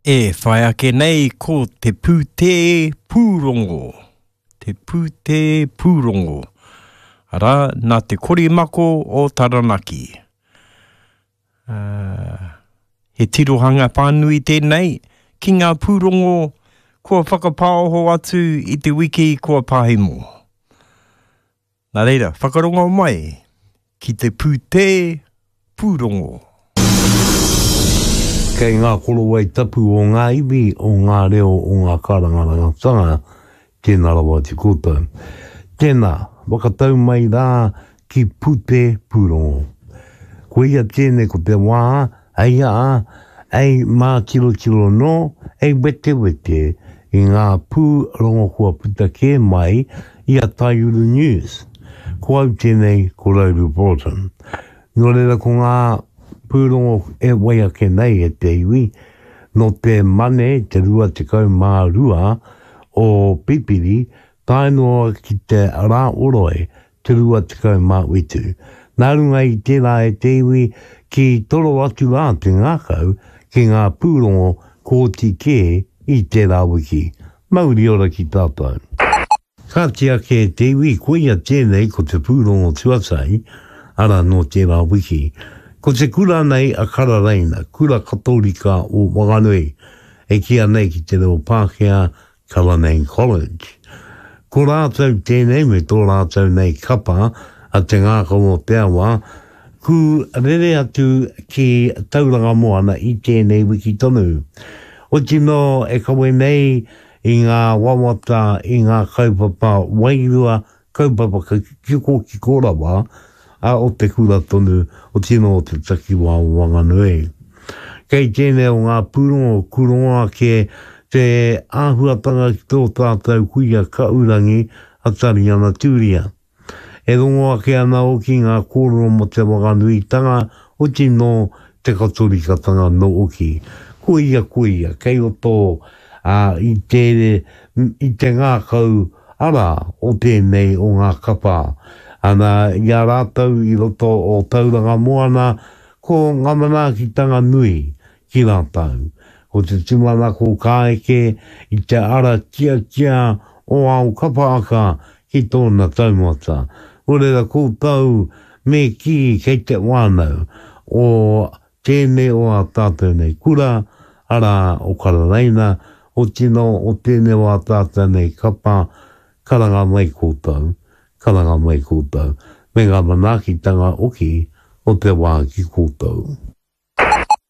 E whai ake nei ko te pūtē pūrongo. Te pūtē pūrongo. Arā, nā te korimako o Taranaki. Uh, he tirohanga whānui tēnei ki ngā pūrongo kua whakapāoho atu i te wiki kua pahemo. Nā reira, whakarongo mai ki te pūtē pūrongo. Kei ngā korowai tapu o ngā iwi, o ngā reo, o ngā kārangarangatanga, tēnā rawa atu koutou. Tēnā, whakatau mai rā ki Pūtē Pūrongo. Koia tēnei ko te wā, hei aha, hei mātirotiro nō, hei wetewete i ngā pūrongo kua puta kē mai i a Taiuru News. Ko au tēnei, ko Rauru Broughton. Nō reira ko ngā pūrongo e wai ake nei e te iwi, nō te Mane te 22 o Pipiri tae noa ki te Rā Oroi te 27. Nā runga i tērā e te iwi ki toro atu rā te ngākau ki ngā pūrongo kōti kē i tērā wiki. Mauri ora ki tātou. Kāti ake e te iwi, koia tēnei ko te pūrongo tuatahi, arā nō tērā wiki. Ko te kura nei a Kararaina, Kura Katorika o Wanganui, e kīa nei ki te reo Pākehā Cullinane College. Ko rātou tēnei me tō rātou nei kapa a Te Ngākau o Te Awa, ku rere atu ki Tauranga Moana i tēnei wiki tonu. Oti nō e kawe nei i ngā wawata, i ngā kaupapa wairua Kaupapa kikokiko rawa a o te kura tonu o tino o te takiwā o Wanganui. Kei tēnei o ngā pūrongo kurongo ake te āhuatanga ki tō tātou kuia kaurangi a Tariana Turia. E rongo ake ana hoki ngā kōrero mō te Wanganuitanga o tino te Katorikatanga nōki. Koia, koia, kei roto i te, i te ngākau Arā, o tēnei o ngā kapa. Ana, i a rātou i roto o Tauranga Moana, ko ngā manaakitanga nui ki rātou. Ko te tūmanako ka eke i te ara tiatia o ao kapaaka ki tōna taumata. Nō reira koutou me kī kei te whānau o Tēnei o ā tātou nei kura, arā, o Kararaina, otirā o tēnei o ā tātou nei kapa, karanga mai koutou, karanga mai koutou, me ngā manaakitanga hoki o te wā ki koutou.